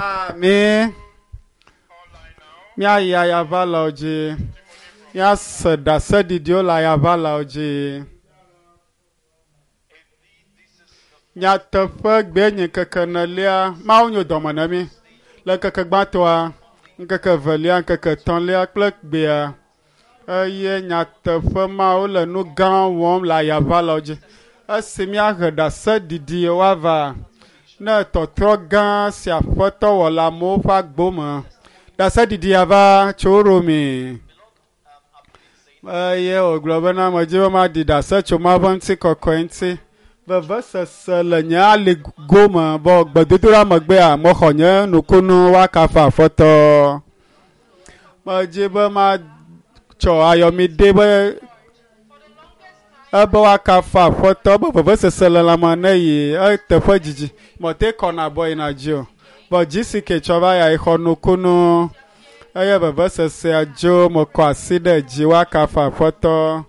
Ami. Míayi ayaʋalawo dzi. Míase ɖaseɖiɖiwo le ayaʋalawo dzi. Nyateƒe gbee nye ŋkeke enelia. Mawu nyo dɔme na mí. Le ŋkeke gbãtɔa, ŋkeke evelia, ŋkeke etɔ̃lia kple gbea eye nyateƒe Mawu le nu gã wɔm le ayaʋalawo dzi. Esi míahe ɖaseɖiɖi woava ne tɔtrɔ gã si aƒetɔ wɔ le amewo ƒe agbo me. Ɖaseɖiɖia va tso Romi. Eye wògblɔ bena medzi be maɖi ɖase tso Mawu ƒe ŋutikɔkɔe ŋuti. Vevesese le nye ali gome vɔ gbedodoɖa megbea mexɔ nye nukunu woakafu aƒetɔ. Medzi be matsɔ ayɔmi ɖe be ebe woakafu aƒetɔ be vevesese le lãme ne yi eteƒe dzidzi. Mete kɔna bɔ yina dzi o. Vɔ GCK tsɔ va ya xɔ nukunu eye vevesesea dzo mekɔ asi ɖe dzi woakafu aƒetɔ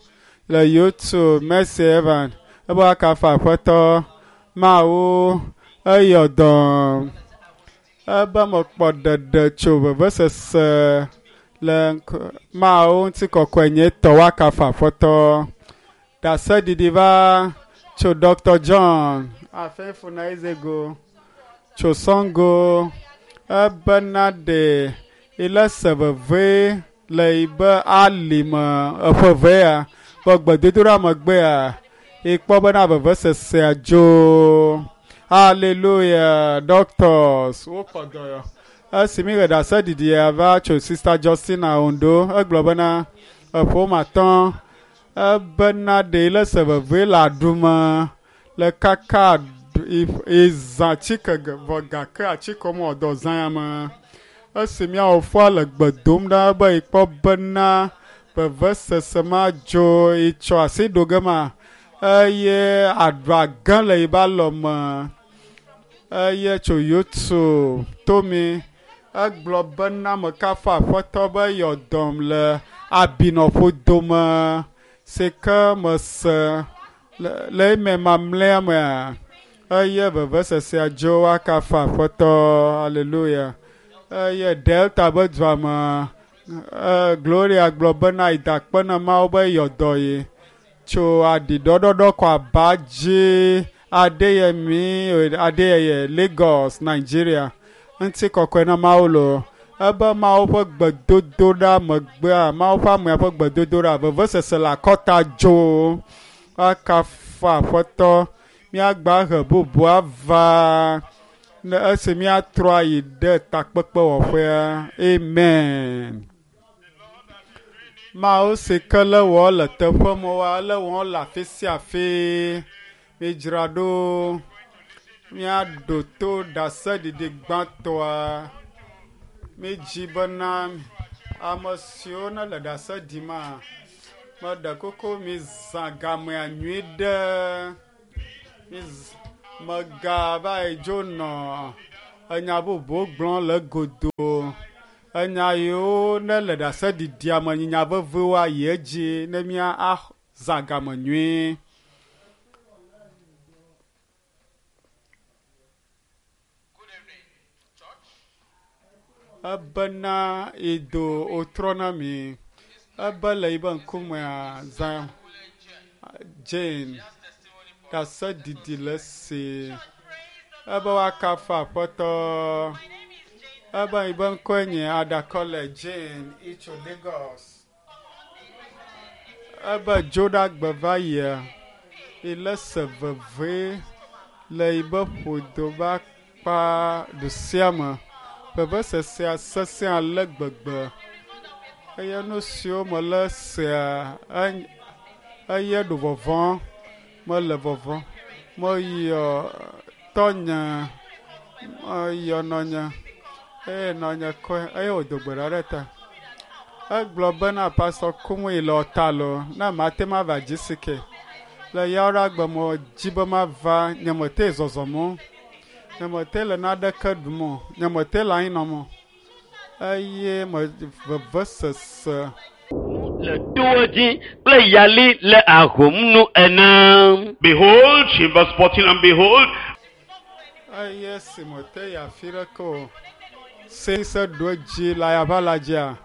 le YouTube Mercy Evan ebe woakafu aƒetɔ Mawu eyɔ dɔm ebe mekpɔ ɖeɖe tso vevesese le ŋk- Mawu ŋutikɔkɔe nye tɔ woakafu aƒetɔ. Ɖaseɖiɖi va tso Dr. John Afenfuna Ezego tso Sɔngo ebena ɖe ile se veve le yibe ali me eƒe vea vɔ gbedodoɖa megbea ikpɔ bena vevesesea dzo. Hallelujah doctors wokɔ dɔyɔ. Esi mi ɣe ɖaseɖiɖia va tso Sister Justina Ondo egblɔ bena eƒo matɔ ebena ɖe ile se veve le aɖume le kaka izã tsike vɔ gake atsike me dɔ zã ya me. Esi míawo foa le gbe dom ɖa be ikpɔ bena vevesese ma dzo itsɔ asi ɖo ge ma eye aɖua gã le yibe alɔme eye tso YouTube tomi egblɔ bena mekafu aƒetɔ be yɔ dɔm le abinɔƒodome si ke mese le le eme mamlɛa mea eye vevesesea dzo woakafu aƒetɔ hallelujah eye Delta be dua me Gloria gblɔ bena yi da akpe na Mawu be yɔ dɔ ye tso aɖiɖɔɖɔɖɔ kɔ aba dzi Adeyemi Adeyeye Lagos Nigeria ŋutikɔkɔe na Mawu lo ebe Mawu ƒe gbedodoɖa megbea Mawu ƒe amea ƒe gbedodoɖa vevesese le akɔta dzo woakafu aƒetɔ míagba he bubu ava ne esi míatrɔ ayi ɖe takpekpewɔƒea amen. Mawu si ke le wɔ le teƒe mɔwoa ele wɔm le afi sia afi. Midzra ɖo míaɖo to ɖaseɖiɖi gbãtɔa. Midzi bena ame siwo ne le ɖase ɖima meɖe kuku mizã gamea nyui ɖe. Miz megava yi dzo nɔ enya bubu gblɔm le godo. Enya yiwo ne le ɖaseɖiɖia me nye nya veviwo ayi edzi ne mía azã game nyui. Ebena ido wotrɔ na mi. Ebe le yibe ŋkumea zã Jane ɖaseɖiɖi le esi. Ebe woakafu aƒetɔ. Ebe yibe ŋkɔe nye Adakɔle Jane itso Lagos. Ebe dzoɖagbe va yia ile se veve le yibe ƒodo be akpa ɖusia me. Vevesesea sesẽ ale gbegbe eye nu siwo mele sea eye ɖo vɔvɔ̃ mele vɔvɔ̃. Meyɔ tɔnye meyɔ nɔnye eye nɔnye kɔe eye wòdo gbe ɖa ɖe ta. Egblɔ bena Pastor Kumuyi le ɔta lo ne mate ŋu ava GCK. Le yawoɖagbe medzi be mava nye mete zɔzɔm o. Nye mete le naneke ɖum o. Nye mete le anyi nɔm o. Eye me vevesese. Le towo dzi kple yali le ahom nu ene. Behold, in verse 14, and behold, Eye si mete yi afi ɖeke o. Se se ɖo edzi le ayaʋala dzia.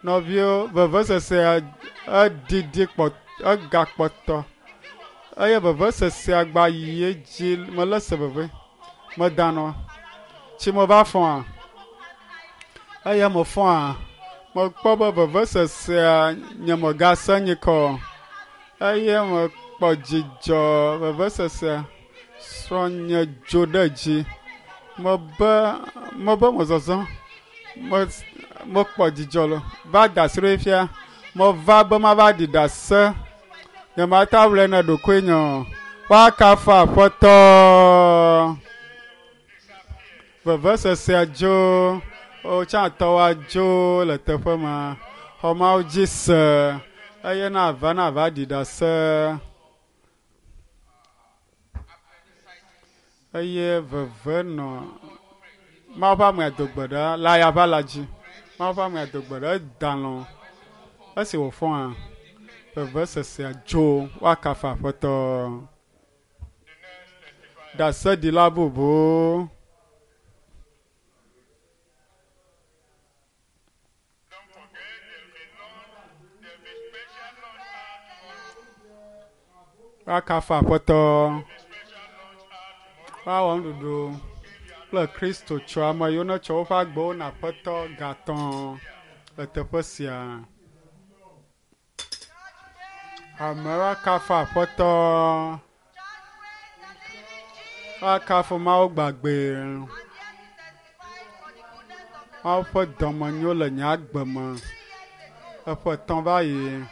Nɔviwo vevesesea eɖiɖi kpɔ egakpɔtɔ eye vevesesea gba yi edzi mele se veve medanɔ. Tsi me va fɔa eye mefɔa mekpɔ be vevesesea nye megase nyikɔ eye mekpɔ dzidzɔ vevesesea srɔ̃nye dzo ɖe dzi mebe mebe mezɔzɔ me mekpɔ dzidzɔ le va da asi ɖo fia meva be mava ɖi ɖase nyemate ŋu awlɔe na ɖokuinye o woakafu aƒetɔ vevesesea dzo wotsãtɔwoa dzo le teƒe ma xɔmawo dzi se eye nava nava ɖi ɖase eye veve nɔ Mawu ƒe amea do gbe ɖa le ayaʋala dzi. Mawu ƒe amea do gbe ɖa eda lɔ̃. Esi wòfɔa vevesesea dzo woakafu aƒetɔ. Ɖaseɖila bubu. Don't forget, there'll be lunch, there'll be special lunch out tomorrow. Woakafu aƒetɔ. Special lunch out tomorrow. Woawɔ nuɖuɖu kple Kristo tsɔ ame yiwo netsɔ woƒe agbewo na aƒetɔ gatɔ le teƒe sia. Amewo akafu aƒetɔ. Woakafu Mawu gbagbe. Mawu ƒe dɔmenyo le nye agbe me. Eƒe etɔ̃ va yi.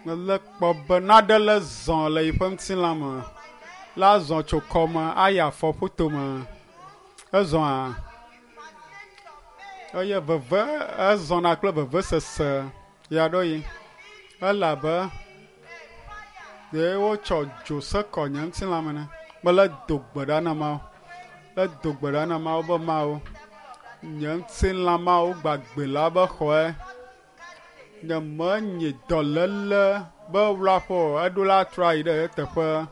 Mele kpɔ be naɖe le zɔ le yiƒe ŋutilã me. La zɔ tso kɔme ayi afɔƒutome. Ezɔa eye veve ezɔna kple vevesese ɣeaɖewoɣi elabe ɖe wotsɔ dzo se kɔ nye ŋutilã me ne. Mele do gbe ɖa na Mawu. Le do gbe ɖa na Mawu be Mawu nye ŋutilã Mawu gbagbe la be xɔe. Nye menyi dɔléle be wlaƒe o eɖo la trɔ ayi ɖe eteƒe.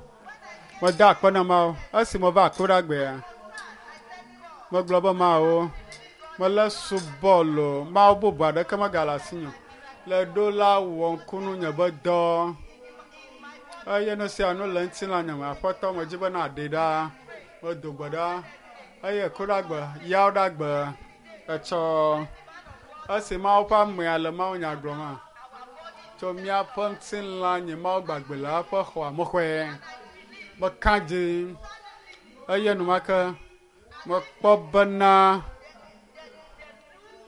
Meda akpe na Mawu esi meva akpɔɖagbea. Megblɔ be Mawu mele subɔ lo Mawu bubu aɖeke megale asinye o. Le ɖo la wɔ ŋkunu nye be dɔ eye nu sia nu le ŋutilã nye me aƒetɔ medzi be naɖe ɖa. Medo gbe ɖa eye kuɖagbe yawo ɖagbe etsɔ esi Mawu ƒe amea le mawunya gblɔm tso míaƒe ŋutilã nye Mawu gbagbe la ƒe xɔa mexɔe meka dzi eye enumake mekpɔ bena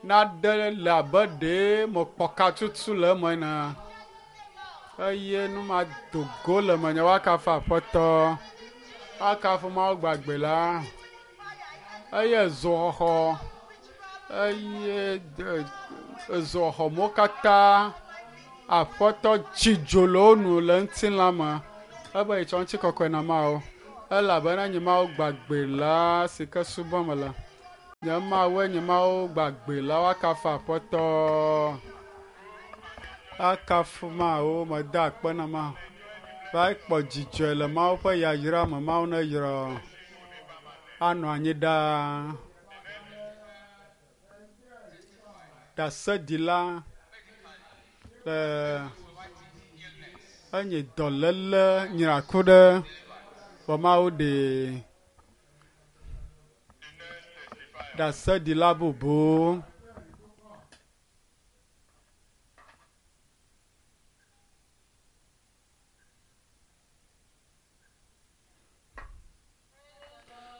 naɖe le abe ɖee mekpɔ katutu le eme ene eye nu ma do go le menye woakafu aƒetɔ woakafu Mawu gbagbe la eye zoxɔxɔ eye ezoxɔxɔmewo katã aƒetɔ tsi dzo le wo nu le ŋutilã me ebe yetsɔ ŋutikɔkɔe na Mawu elabena nye Mawu gbagbe la si ke subɔm mele. Nye Mawue nye Mawu gbagbe la woakafu aƒetɔ. Akafu Mawu meda akpe na Mawu. Va kpɔ dzidzɔe le Mawu ƒe yayra me Mawu neyra anɔ anyi ɖaa. Ɖaseɖila le enye dɔléle nyraku ɖe vɔ Mawu ɖee. Ɖaseɖila bubu.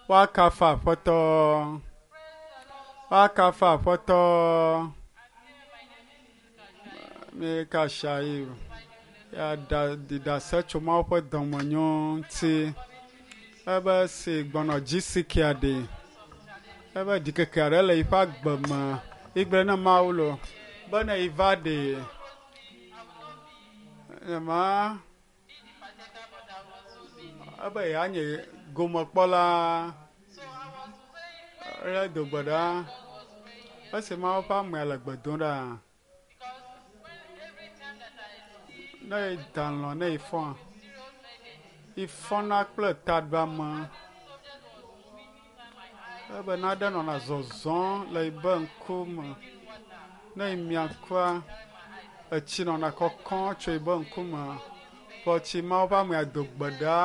Woakafu aƒetɔ. Woakafu aƒetɔ. Mika Shaib ya ɖa ɖi ɖase tso Mawu ƒe dɔmenyo ŋuti. Ebe si gbɔnɔ GCK ɖi. Ebe ɖikeke aɖe le yiƒe agbe me. Igblɔe na Mawu lo be ne yi va ɖi nyema ebe yeanye gomekpɔla le do gbe ɖa esi Mawu ƒe amea le gbe dom ɖa ne da lɔ̃ ne ifɔa ifɔna kple taɖuame. Ebe naɖe nɔna zɔzɔm le yibe ŋkume. Ne yi mia ŋkua, etsi nɔna kɔkɔm tso yibe ŋkume. Vɔ tsi Mawu ƒe amea do gbe ɖa.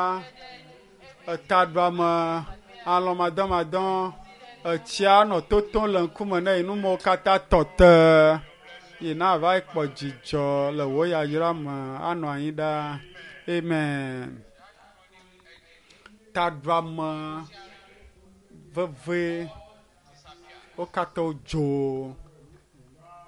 Etaɖuame, alɔ̃madɔmadɔ, etsia nɔ totom le ŋkume ne yi numewo katã tɔ te. Yi na va yi kpɔ dzidzɔ le wò yayra me anɔ anyi ɖaa. Amen. Taɖuame veve wo katã wodzo.